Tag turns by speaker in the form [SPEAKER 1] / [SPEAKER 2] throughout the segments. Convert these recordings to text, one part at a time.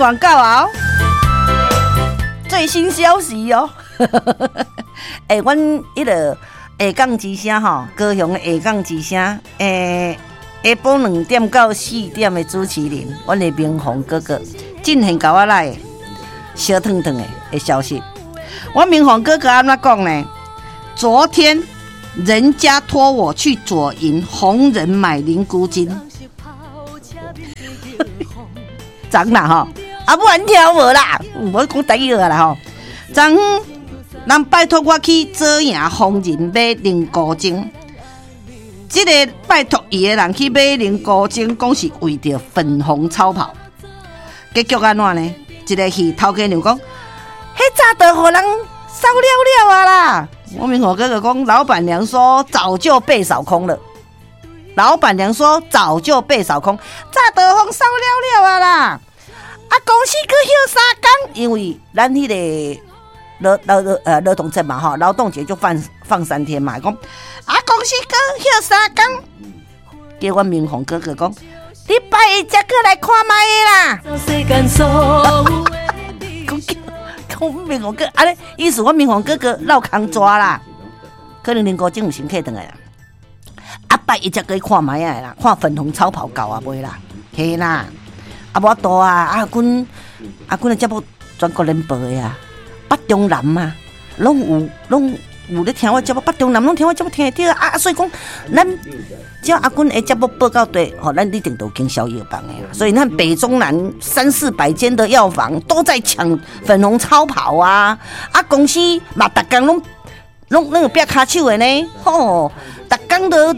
[SPEAKER 1] 廣告啊！最新消息哦！欸，阮彼个下港之聲吼，高雄的下港之聲，欸，下晡2點到4點的主持人，阮的明宏哥哥，進行共我來燒燙燙的消息。我明宏哥哥按怎講呢？昨天人家託我去左營紅人買靈菇精，昨啦吼，啊母你聽無啦？我講台語啦吼。昨昏人拜託我去左營紅人買靈菇精，這个拜託伊的人去買靈菇精，講是為著粉紅超跑。結局按怎呢？一个戲頭家娘講，彼早就予人掃了了啊啦！我明宏哥哥講，老闆娘說早就被掃空了。老闆娘說早就被掃空，早就予人掃了了啊啦！啊，公司閣休3工，因為咱彼个勞動節嘛吼，勞動節就放3天嘛。講啊，公司閣休三工，叫阮明宏哥哥講，你拜一才閣來看覓啦。講明宏哥，按呢意思，阮明宏哥哥落空抓啦，可能林國正有先客轉來啦。啊，拜一才閣去看覓仔啦，看粉紅超跑夠啊未啦？嘿啦，啊無法度啊，阿君阿君的節目全國聯播的啊，北中南啊，攏有咧聽我節目，北中南攏聽我節目聽會著啊，所以講，咱只要阿君的節目報到底，吼，咱一定都有經銷藥房的。所以你看北中南三四百間的藥房都在搶粉紅超跑啊！啊，公司嘛，逐工攏有拚跤手的呢，吼，逐工都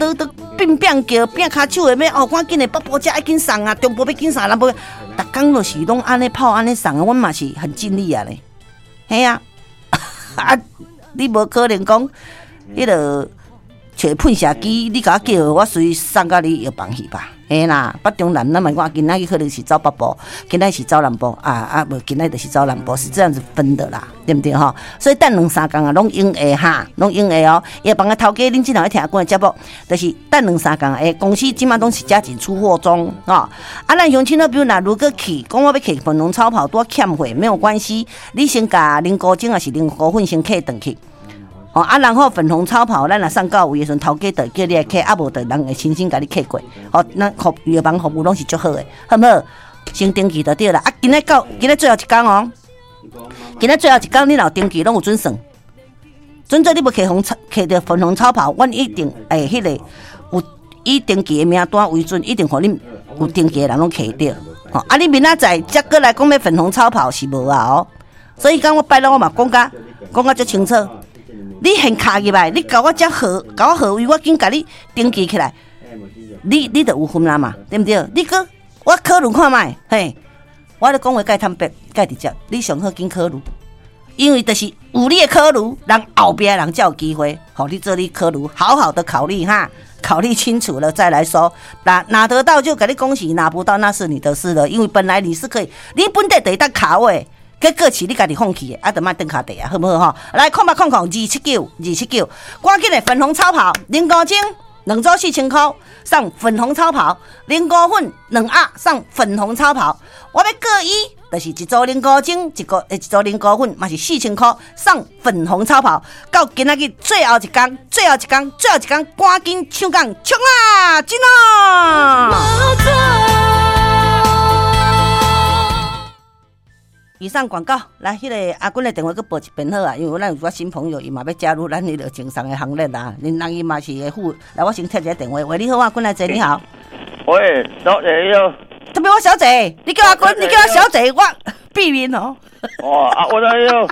[SPEAKER 1] 變變叫拚跤手的欲哦，趕緊的北部遮愛緊送啊，中部欲緊送，南部逐工就是攏按呢跑按呢送，阮嘛是很盡力啊咧，嘿啊，啊，你無可能講彼个揣噴射機，你共我叫，我隨送到你藥房去吧？嘿啦，北中南咱嘛講今仔日可能是走北部，今仔是走南部啊啊，無今仔就是走南部，是這樣子分的啦，對毋對吼？所以等兩三工啊，攏用會哈，攏用會哦。藥房的頭家，恁這若咧聽阮的節目，就是等兩三工，欸，公司這馬攏是加緊出貨中吼。啊，咱鄉親好朋友若如果去，講我欲去粉紅超跑拄欠貨，沒有關係，你先共靈菇精抑是靈菇粉先客轉去。哦啊，然後粉紅超跑，咱若送到位的時陣，頭家就會叫你來客，啊無就人會親身共你客過。哦，咱服藥房服務攏是足好的，好毋好？先登記就對啦。啊，今仔到今仔最後一工哦，今仔最後一工，你若有登記攏有準算。準做你欲客紅客著粉紅超跑，阮一定會彼个有以登記的名單為準，一定予恁有登記的人攏客著。吼，啊，你明仔載才閣來講欲粉紅超跑是無啊哦。所以講我拜六我嘛講甲足清楚。你現敲入來，你共我這號，共我號位，我緊共你登記起來，你就有份啦嘛，對毋對？你閣我考慮看覓，嘿，我咧講話蓋坦白，蓋直接，你上好緊考慮，因為就是有你的考慮，人後壁的人才有機會，予你做你考慮，好好的考慮哈，考慮清楚了再來說，拿得到就共你恭喜，拿不到那是你的事了，因為本來你是可以，你本底就會當卡位。結果是你家己放棄的，啊，就莫轉跤地啊，好毋好吼？來，0800 279 279，趕緊的粉紅超跑，靈菇精兩組4000箍送粉紅超跑，靈菇粉兩盒送粉紅超跑。我欲閣以，就是一組靈菇精，一組靈菇粉嘛是4000箍送粉紅超跑。到今仔日最後一工，最後一工，最後一工，趕緊搶講衝啊，進啊！以上廣告，來，彼个阿君的電話閣報一遍好啊，因為咱有寡新朋友，伊嘛欲加入咱彼个贈送的行列啦。恁人伊嘛是會付，來，我先接一下電話。喂，你好，阿君來坐，你好。
[SPEAKER 2] 喂，小姐你好。
[SPEAKER 1] 特別我小姐，你叫阿君，你叫我小姐，我避免哦。
[SPEAKER 2] 哦，啊，我來喲。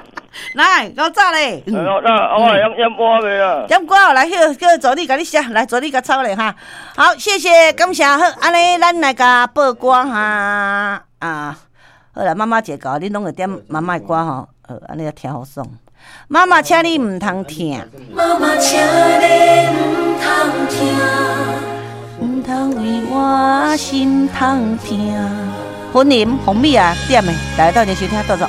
[SPEAKER 1] 來，夠早咧。
[SPEAKER 2] 我來點歌未啊？
[SPEAKER 1] 點歌，來，叫助理共你寫，來助理共抄咧哈。好，謝謝，感謝，好，按呢，咱來共報歌哈啊。好啦，媽媽姐教，恁攏會點媽媽的歌吼，好，按呢聽好爽。媽媽，請你毋通疼。
[SPEAKER 3] 媽媽，請你毋通疼，
[SPEAKER 1] 毋通為我心通疼。雲林鳳美啊，點的，大家鬥陣收聽，多謝。